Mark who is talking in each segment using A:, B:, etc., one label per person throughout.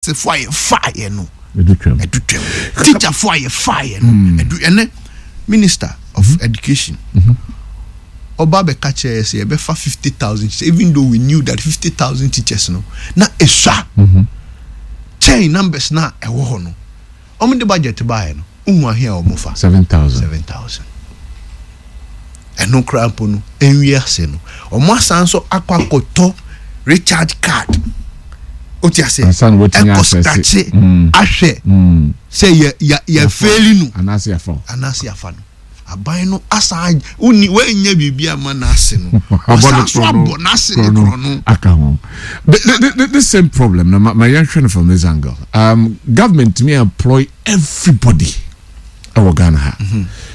A: Nursefoɔ a yɛfaeɛ no
B: ɛdu twam.
A: Ɛdu twam. Teacherfoɔ a yɛfaeɛ no ɛdu. Ɛnɛ Minister of Education ɔba bɛka kyerɛ yɛ sɛ yɛbɛfa 50,000 teachers, even though we knew that 50,000 teachers no na esua kyɛn numbers na ɛwɔ hɔ no. Wɔn de budget baeɛ no, wohu ahe a wɔn fa?
B: 7,000.
A: 7,000. Ɛno koraa mpo no, nwie ase no, wɔn asan so akɔ akɔtɔ recharge card. O ti ase?
B: Ansa na wɔatumi
A: ɛkɔ
B: access.
A: Scratch ahwɛ sɛ yɛ fail no
B: anaasɛ yɛfa wo.
A: Anaasɛ yafa no. Aban no asan wonni wɔanya biribi ama n'ase no,
B: abɔ no
A: ɔsan so
B: korɔ no
A: abɔ n'ase ne
B: korɔ no
A: korɔ no
B: aka ho. The same problem no, ma yɛnhwɛ no from this angle. Government may employ everybody ɛwɔ Ghana ha.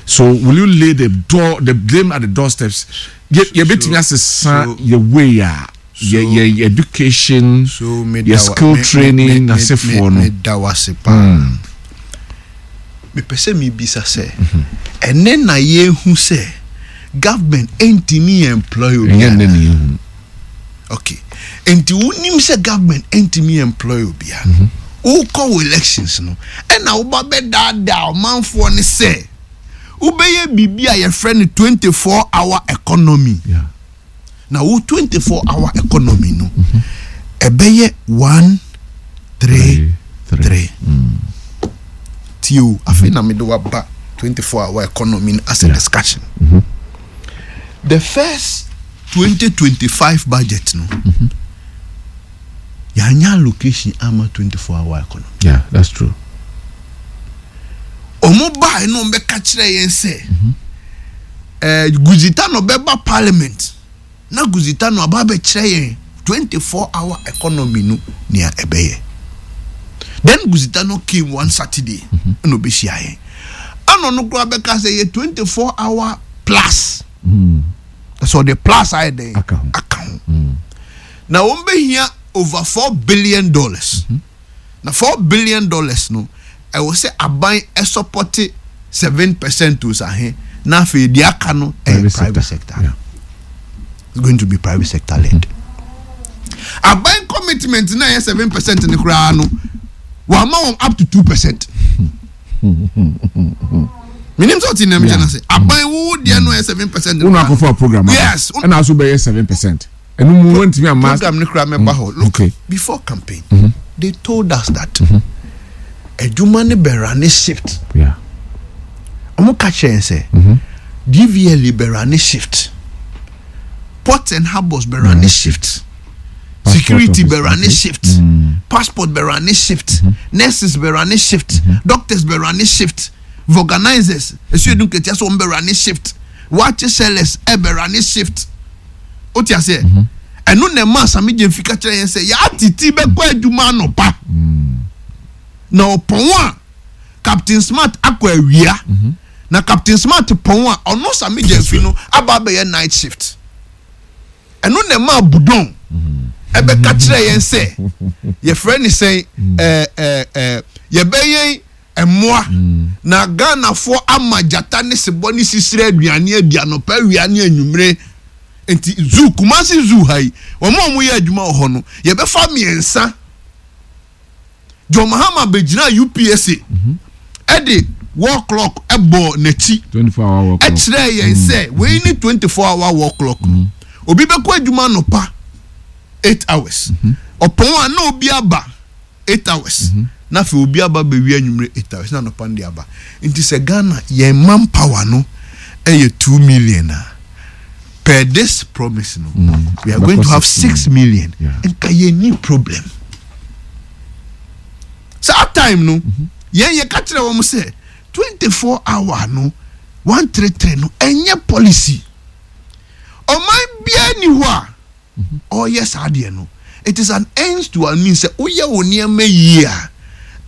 B: So will you lay the blame at the doorsteps? Yɛbɛtumi asesa yɛ way a yɛ education,
A: so
B: yɛ skill training n'asefoɔ no.
A: Meda wase paa. Mepɛ sɛ mebisa sɛ ɛnɛ na yɛhu sɛ government ɛntumi employ
B: ɛnyɛ
A: obiara?
B: Nnɛ ne yɛhu.
A: Okay, nti wonim sɛ government ɛntumi employ obiara no, wokɔ wɔ elections no, ɛna woba bɛdaadaa ɔmanfoɔ ne sɛ wobɛyɛ biribi a yɛfrɛ no 24 hour economy. Na wo 24 hour economy no ɛbɛyɛ 133. Tie o, afei na mede waba 24 hour economy no as a discussion. The first 2025 budget no, yɛanya allocation ama 24 hour economy.
B: Yeah, that's true.
A: Ɔmo baa no, ɔmo bɛka kyerɛ yɛn sɛ Goosie Tanoh bɛba parliament na Goosie Tanoh aba abɛkyerɛ yɛn 24 hour economy no nea ɛbɛyɛ. Then Goosie Tanoh came one Saturday ɛna ɔbɛhyia yɛn, ɛna ɔno koraa bɛka sɛ yɛ 24 hour plus. Ɛsɛ ɔde plus ayɛ dɛn?
B: Aka ho.
A: Aka ho. Na wɔn bɛhia over $4 billion, na $4 billion no, ɛwɔ sɛ aban ɛsupport 7% o sahe, na afei deɛ aka no ɛyɛ private sector. It's going to be private sector led. Aban commitment na ɛyɛ 7% ne koraa no, wama wɔn up to 2%. Minim sɛ ɔte nam kyɛn ase, aban wo deɛ no ɛyɛ 7%.
B: Wọn akɔfɔ program aba.
A: Yes.
B: Ɛna aso bɛyɛ 7%, ɛnu mu wɔn ntumi ama.
A: Program ne koraa mɛba hɔ. Look, before campaign, they told us that adwuma ne bɛra ne shift. Ɔmo ka kyerɛ yɛn sɛ DVLA bɛra ne shift, Ports and Harbours bɛra ne shift,
B: Passport
A: security
B: office,
A: bɛra ne shift, passport bɛra ne shift, nurses bɛra ne shift, doctors bɛra ne shift, vulcanizers esu edu nketewa so wɔn bɛra ne shift, waakye sellers ɛbɛra ne shift. O ti aseɛ? Ɛno na ɛma Sammy Gyamfi ka kyerɛ yɛn sɛ yɛatete bɛkɔ adwuma anɔpa na ɔpɔn a, Captain Smart akɔ awia, na Captain Smart pɔn a, ɔno Sammy Gyamfi no aba abɛyɛ night shift. Ɛno na ɛma Budon ɛbɛka kyerɛ yɛn sɛ yɛfrɛ ne sɛn, ɛɛ ɛɛ ɛɛ yɛbɛyɛn mmoa na Ghanafoɔ ama gyata ne sebɔ ne sisire aduane adi anɔpa, awia ne anwummere. Nti zoo, Kumasi Zoo ha yi, wɔn a wɔyɛ adwuma wɔ hɔ no, yɛbɛfa mmiɛnsa. John Mahama bɛgyina UPSA ɛde wall clock ɛbɔ n'akyi.
B: 24 hour wall clock.
A: Ɛkyerɛ yɛn sɛ wei ne 24 hour wall clock no, obi bɛkɔ adwuma anɔpa 8 hours, ɔpɔn a na obi aba 8 hours, na afei obi aba bɛwi anwummerɛ 8 hours na anɔpa no de aba. Nti sɛ Ghana yɛn manpower no ɛyɛ 2 million a, per this promise no, we are going to have 6 million. Nka yɛn ni problem saa time no. Yɛn yɛ ka kyerɛ wɔn sɛ 24 hour no, 133 no, ɛnyɛ policy. Ɔman biara ni hɔ a ɔyɛ saa deɛ no. It is an ends to a means sɛ woyɛ wo nneɛma yie a,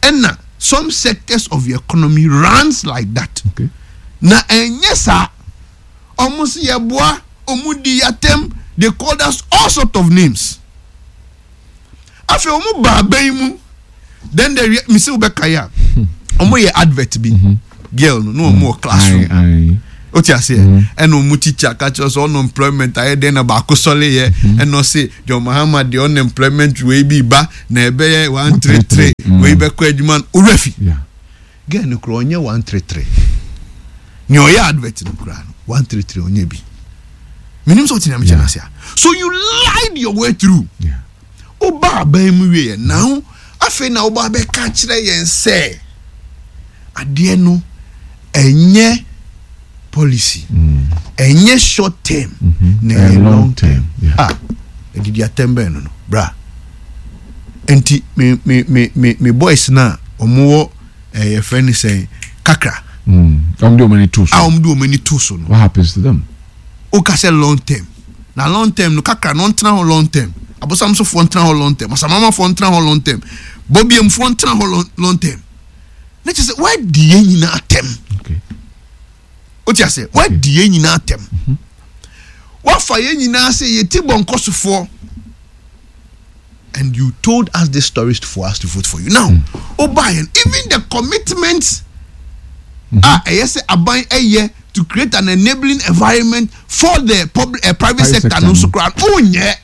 A: ɛna some sectors of the economy runs like that. Na ɛnyɛ saa, ɔmo si yɛ boa, ɔmo di yatem. They called us all sort of names. Afei ɔmo ba abɛn mu, then the misi wo bɛka yi a, ɔmo yɛ advert bi, girl no na ɔmo wɔ classroom. O ti aseɛ, ɛna ɔmo teacher ka kyerɛ sɛ unemployment ayɛ dɛn na baako sɔle yɛ, ɛna ɔse John Mahama deɛ unemployment wei bi ba na ɛbɛyɛ 133 wei bɛkɔ adwuma no owura fi. Girl no koraa ɔnyɛ 133, nea ɔyɛ advert no koraa no 133 ɔnyɛ bi. Menim sɛ ɔte nea mekyɛ no ase a. So you lied your way through. Woba aban mu wieɛ now afei na woba bɛka kyerɛ yɛn sɛ adeɛ no ɛnyɛ policy, ɛnyɛ short term na ɛyɛ long term. Ah, ɛdidi atɛm bɛn no no bra. Nti me me me me me boys na wɔn wɔ ɛyɛ fɛ ne sɛn kakra.
B: Wɔn de wɔn ani to so.
A: A wɔn de wɔn ani to so no.
B: What happens to them?
A: Woka sɛ long term na long term no kakra no ɔntena hɔ long term, abosamsofoɔ ntena hɔ long term, asamamafoɔ ntena hɔ long term, bɔbiamfoɔ ntena hɔ long, long term, na kyerɛ sɛ woadi yɛn nyinaa atɛm. Wote aseɛ? Woadi yɛn nyinaa atɛm, woafa yɛn nyinaa sɛ yɛti bɔnkɔsofoɔ, and you told us these stories for us to vote for you. Now wobaeɛ, even the commitment a ɛyɛ sɛ aban ɛyɛ to create an enabling environment for the public, private sector no nso koraa wonyɛ.